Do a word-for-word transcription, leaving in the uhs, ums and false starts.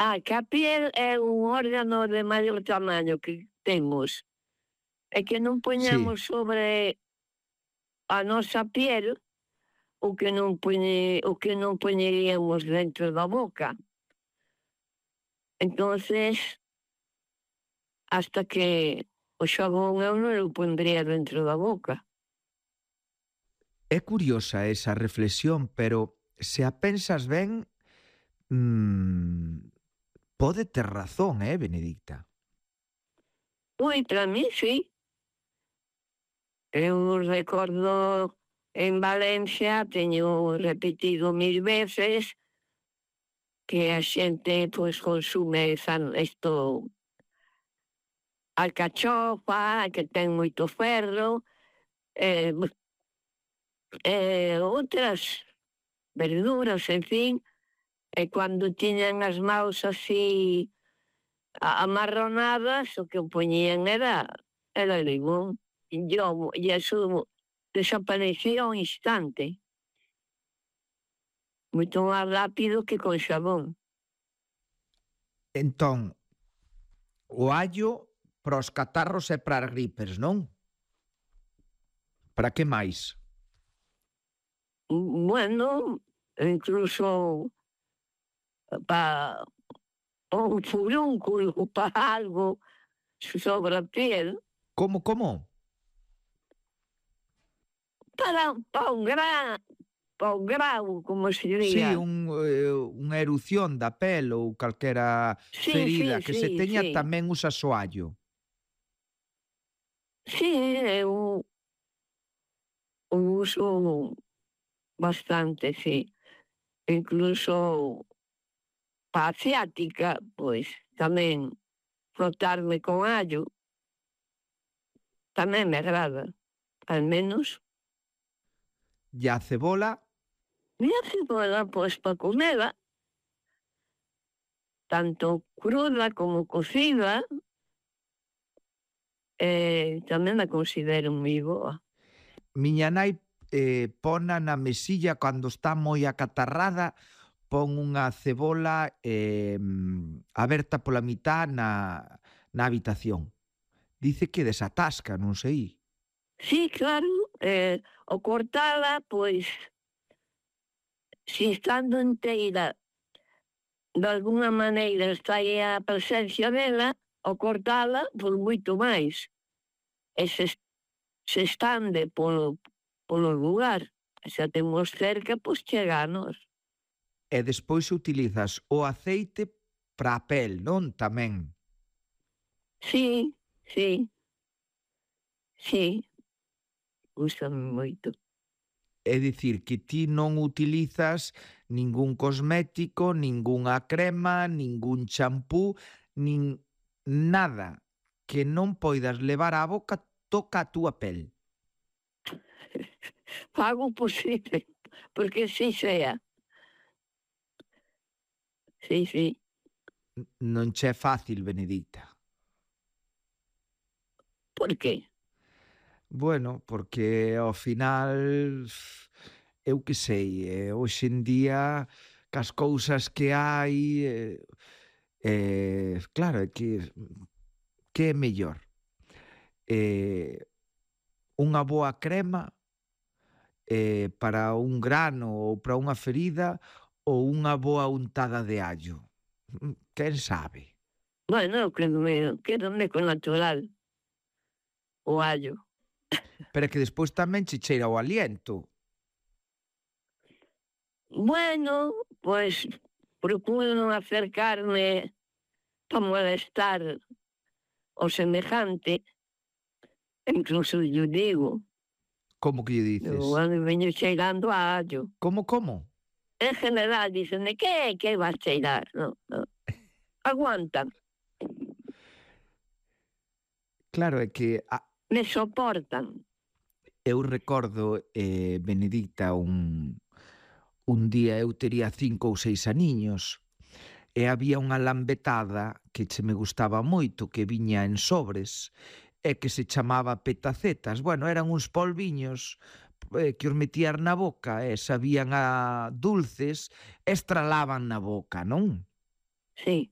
Ah, que a piel é un órgano de maior tamaño que temos, e que non Sí. poñamos sobre a nosa piel o que non poñe o que non poñeríamos dentro da boca. Entonces hasta que o xabón eu non o pondría dentro da boca. É curiosa esa reflexión, pero se a pensas ben, mmm, pode ter razón, eh, Benedicta? Ui, para min si. Eu recordo en Valencia, teño repetido mil veces, que a xente, pois, consume san isto alcachofa, que ten moito ferro, e e outras verduras, en fin, e cando tiñan as maus así a amarronadas, o que poñían era era limón, e yo e eso desaparecía ao instante. Moito máis rápido que con xabón. Entón, o allo para os catarros e para as gripes, non? Para que máis? Bueno, incluso pa un furúnculo, pa algo sobre a piel. Como, como? Para pa un gra pa un grao, como se Sí, diría. un, eh, unha erupción da pel ou calquera Sí, ferida sí, que se sí, teña sí. tamén usas o allo. Sí, eu o uso bastante, sí. Incluso pa a ciática, pois tamén frotarme con allo tamén me agrada, al menos. E a cebola? E a cebola, pois pa comela tanto cruda como cocida eh, tamén a considero moi boa. Miña nai eh, pona na mesilla cando está moi acatarrada, pon unha cebola eh, aberta pola mitad na, na habitación. Dice que desatasca, non sei. Sí, claro, eh, ao cortala, pois, si estando enteira, dalgunha maneira está aí a presencia dela, ao cortala, pois moito máis. E se se estande polo polo lugar, e se a temos cerca, pois chega a nós. E despois utilizas o aceite para a pel, non? Tamén. Sí, sí. Sí. Gústame moito. É dicir, que ti non utilizas ningún cosmético, ningunha crema, ningún champú, nin nada que non poidas levar á boca toca a túa pel. Fago o posible, porque así sea. Sí, sí. N non che é fácil, Benedicta. Por que? Bueno, porque ao final, eu que sei, eh, hoxe en día cas cousas que hai, eh, eh, claro, é que que é mellor? Eh, unha boa crema eh, para un grano ou para unha ferida ou unha boa untada de allo? Mm, Quen sabe? Bueno, eu quédome quédome co natural, o allo. Pero é que despois tamén che cheira o aliento. Bueno, pois procuro non acercarme pa molestar o semejante, incluso llo digo. Como que lle Eu dices? ando veño cheirando a allo. Como, como? En general dícenme: "Que que vas cheirar?" No, no. Aguantan. Claro, é que a Me soportan. eu recordo, eh, Benedicta, un un día eu tería cinco ou seis aniños e había unha lambetada que che me gustaba moito, que viña en sobres e que se chamaba petacetas. Bueno, eran uns polviños eh, que os metías na boca e sabían a dulces e estralaban na boca, non? Sí.